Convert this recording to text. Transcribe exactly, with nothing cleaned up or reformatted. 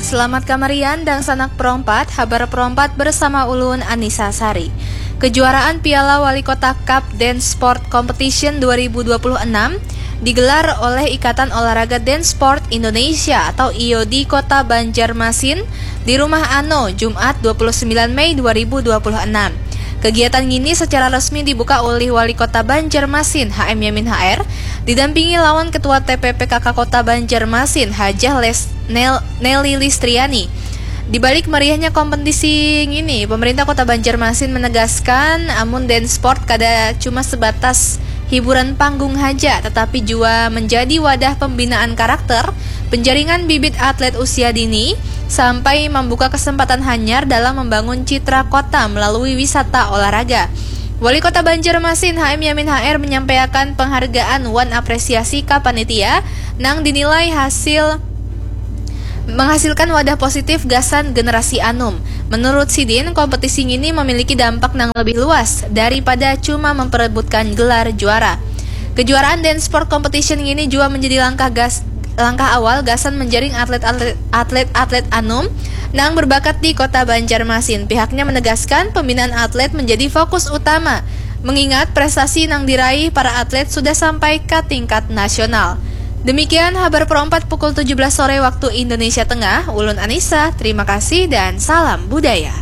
Selamat kamarian dangsanak Pro empat, habar Pro empat bersama ulun Anissa Sari. Kejuaraan Piala Wali Kota Cup Dance Sport Competition dua ribu dua puluh enam digelar oleh Ikatan Olahraga Dance Sport Indonesia atau I O D Kota Banjarmasin di Rumah Ano, Jumat dua puluh sembilan Mei dua ribu dua puluh enam. Kegiatan ngini secara resmi dibuka oleh Wali Kota Banjarmasin, H M Yamin H R, didampingi lawan Ketua T P P K K Kota Banjarmasin, Hajah Les-, Nel-, Nelly Listriani. Di balik meriahnya kompetisi ngini, pemerintah Kota Banjarmasin menegaskan amun dance sport kada cuma sebatas hiburan panggung haja, tetapi jua menjadi wadah pembinaan karakter, penjaringan bibit atlet usia dini, sampai membuka kesempatan hanyar dalam membangun citra kota melalui wisata olahraga. Wali Kota Banjarmasin, H M Yamin H R, menyampaikan penghargaan wan apresiasi ka panitia nang dinilai hasil menghasilkan wadah positif gasan generasi anum. Menurut sidin, kompetisi ngini memiliki dampak nang lebih luas daripada cuma memperebutkan gelar juara. Kejuaraan Dance Sport Competition ngini jua menjadi langkah gas, langkah awal gasan menjaring atlet-atlet, atlet-atlet anum nang berbakat di Kota Banjarmasin. Pihaknya menegaskan pembinaan atlet menjadi fokus utama, mengingat prestasi nang diraih para atlet sudah sampai ke tingkat nasional. Demikian habar Pro empat pukul tujuh belas sore waktu Indonesia Tengah. Ulun Anissa, terima kasih dan salam budaya.